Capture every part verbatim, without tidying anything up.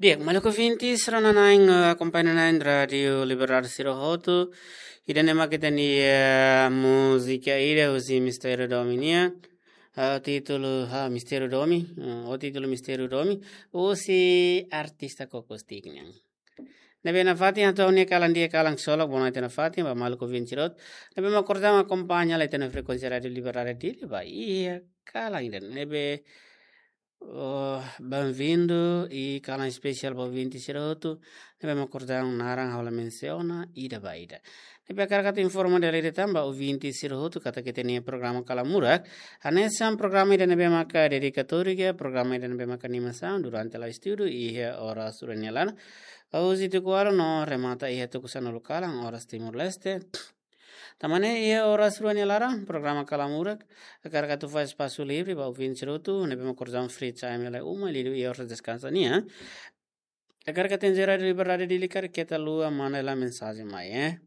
Di'ak, maluk ouvintes, rona-na'in, eh, akompaña na'in Rádiu Liberdade sira hotu. Ida-ne'e mak ita-nia, eh, múzika ida husi Mistériu Domi nian. Eh, títulu, ah, Mistériu Domi. Eh, o títulu Mistériu Domi. Husi artista Koko Stick nian. Ne'ebé nafatin hato'o ha'u-nia kalan di'ak, kalan ksolok, bonoite nafatin ba maluk ouvinte sira hotu ne'ebé mak orsida akompaña hela iha frekuénsia Rádiu Liberdade Dili ba iha kalan ida-ne'e. Oh, bem-vindo i kalan espesiál ba ouvinte sira hotu ne'ebé mak orsida naran ha'u la mensiona ida ba ida. Ne'ebé hakarak atu informa dala ida tan ba ouvinte sira hotu katak ita-nia programa Kalan Murak hanesan programa ida ne'ebé maka dedikatóriu, programa ida ne'ebé maka animasaun durante la'o estudu iha oras rua nia laran. Husi tuku ualu no remata iha tuku sanulu kalan oras Timor-Leste. Tan ne'e iha oras rua nia laran, programa Kalan Murak hakarak atu fó espasu livre ba ouvinte sira hotu ne'ebé mak orsida free time hela iha uma, liuliu iha oras deskansa nian. Hakarak atu enjera Rádiu Liberdade Dili karik keta haluha manda hela mensajen mai, eh.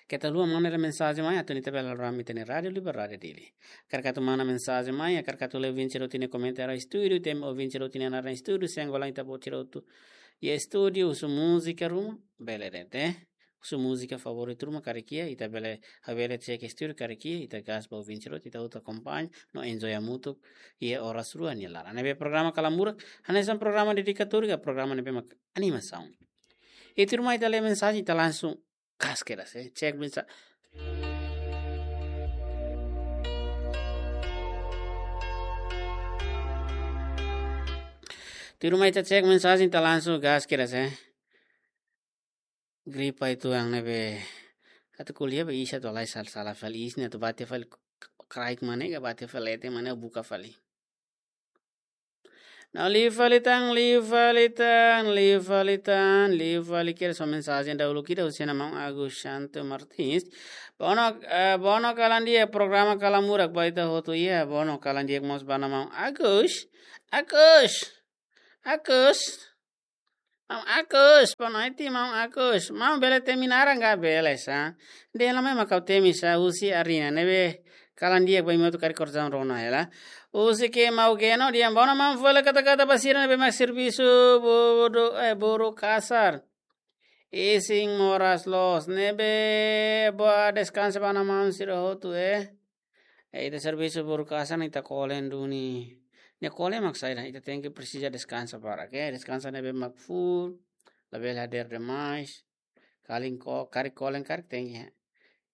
Keta haluha manda hela mensajen mai atu nune'e ita bele hala'o rame iha Rádiu Liberdade Dili. Hakarak atu manda mensajen mai, hakarak atu lee ouvinte sira hotu nia komentáriu iha estúdiu, ita-nia ouvinte sira hotu nia naran iha estúdiu, se engolan ita-boot sira hotu iha estúdiu, husu múzika ruma, bele de'it, eh. Husu múzika favoritu ruma karik iha, ita bele, ha'u bele cek estúdiu karik iha, ita gás ba ouvinte sira hotu, ita hotu akompaña no enjoy hamutuk iha oras rua nia laran. Ne'ebé programa Kalan Murak hanesan programa dedikatóriu, programa ne'ebé mak animasaun. I tuirmai ita lee mensajen, ita langsung gás kedas, eh. Cek mensajen. Tuirmai ita cek mensajen, ita langsung gás kedas, eh. Gripa uitoan ne'ebé atu ko'alia ba iis atu halai sal-, sala fali iis ne'e atu bate fali k-, k-, kraik mane ka bate fali leten mane buka fali. No liu fali tan, liu fali tan, liu fali tan, liu fali kedas. Só mensajen dahuluk ida husi naran maun Agus Santo Martins. Bono, eh, bono kalan di'ak, programa Kalan Murak ba ita hotu iha. Bono kalan di'ak mós ba naran maun Agus. Agus. Agus. Maun Agus, bonoite maun Agus. Maun bele temi naran ka? Bele sá. Dehan mai mak ha'u temi sá, husi Arina ne'ebé kalan di'ak ba imi hotu karik orsida rona hela. Husi ke maun Geno, di'ak bono maun fó hela kata-kata ba sira ne'ebé mak servisu bodo, eh, boru kasar. Isin moras loos, ne'ebé boa deskansa ba naran maun sira hotu, eh. Eh, ita servisu boru kasar ne'e ita kolen duni. Ne'e kolen mak saida, ita tenke presiza deskansa barak, eh. Deskansa ne'ebé mak full, labele hadeer demais. Karik ko-, karik kolen karik tenke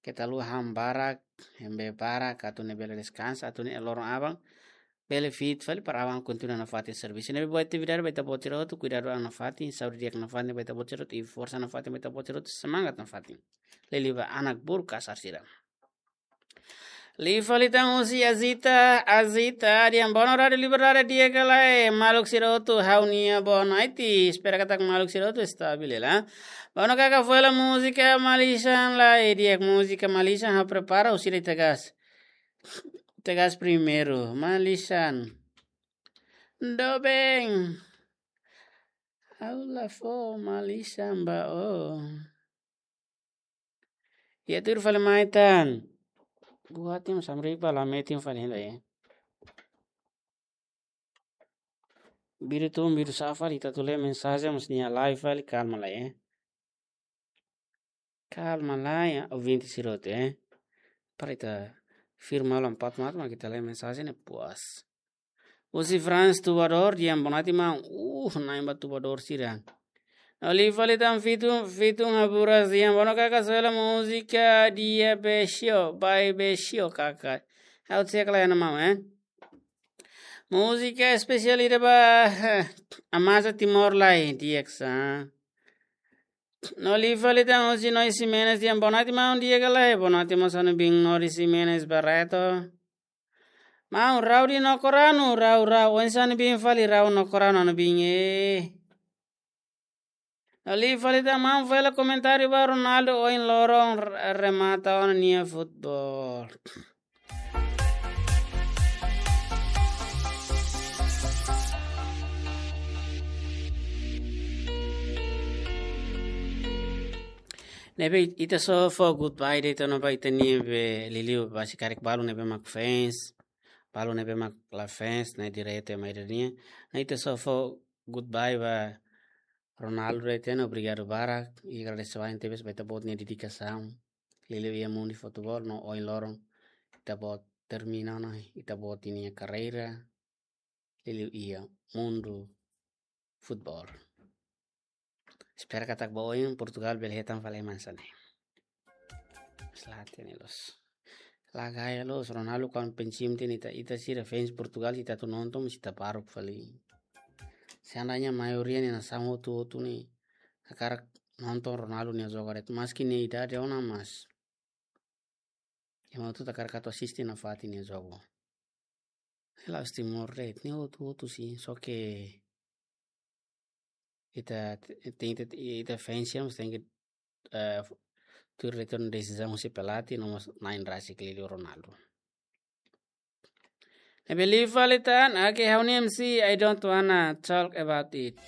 keta haluha han barak, hembe barak, atu nune'e bele deskansa, atu nune'e loron aban bele fit fali para aban kontinua nafatin servisu. Ne'ebé buat atividade ba ita-boot sira hotu, kuidadu an nafatin, saúde di'ak nafatin ba ita-boot sira hotu, i forsa nafatin ba ita-boot sira hotu, semangat nafatin. Liuliu ba anak boru kasar sira. Liu fali tan husi Azita, Azita, di'ak bono Rádiu Liberdade di'ak ka lae, maluk sira hotu ha'u-nia bonoite, espera katak maluk sira hotu estavel hela. Bono kaka fó hela múzika Malisan lae, di'ak múzika Malisan ha'u prepara husi ita gás. Ita gás primeiru, Malisan. Doben. Ha'u la fó Malisan ba ó. Iha tuir fali mai tan. Buat yang samrik ba la metin fali hela, eh. Biru tun, biru sa'e fali, ita atu lee mensajen, mas nia live fali, kalma lai, eh. Kalma lai, eh, ouvinte sira hotu, eh. Para ita firma lam pat mat, mak ita lee mensajen ne'e puas. Husi Frans Tubador, di'ak bonoite maun. Uh, na'in ba Tubador sira. No liu fali tan Fitun, Fitun Haburas, di'ak bono kaka só hela múzika Dia Besio, Bai Besio kaka. Ha'u cek lai naran maun, eh. Múzika espesiál ida ba, eh, Amazia Timor lae, di'ak sá. No liu fali tan husi Noi Ximenes, di'ak bonoite maun, di'ak ka lae, bonoite mós ha'u-nia biin Nori Ximenes Barreto. Maun, rau di Nokoranu, rau, rau. Oinsá nia biin fali, rau Nokoranu nia biin, eh. No liu fali tan maun fó hela komentáriu ba Ronaldo ohin loron re-, remata ona nia futeból. Ne'ebé ita só fó goodbye de'it ona ba ita-nia be liuliu ba sira karik balu ne'ebé mak fans. Balu ne'ebé mak la fans, ne'e direitu ema ida nian. Ne'e ita só fó goodbye ba Ronaldo de'it ona, obrigadu barak, i agradese wa'in tebes ba ita-boot nia dedikasaun. Liuliu iha mundu futeból no ohin loron ita-boot termina ona ita-boot nia karreira liuliu iha mundu futeból. Espera katak ba oin Portugal bele hetan fali ema hanesan ne'e. Selati ne'e loos. La gaya loos, Ronaldo kuandu pensiun tiha ne'e ita, ita sira fans Portugal, ita atu nonton, mas ita baruk fali. Seandainya maioria nia nasaun hotu-hotu ne'e hakarak nonton Ronaldo nia jogu de'it, maski nia idade ona, mas ema hotu hakarak atu asiste nafatin nia jogu. La'ós Timor de'it, nia hotu-hotu sin, só ke ita, ita, ita, ita fans ya, mas tenke, eh, tuir de'it ona desizaun husi pelatih, no mós na'in rasik liuliu Ronaldo. Ne'ebé liu fali tan, oke, ha'u-nia M C, I don't wanna talk about it.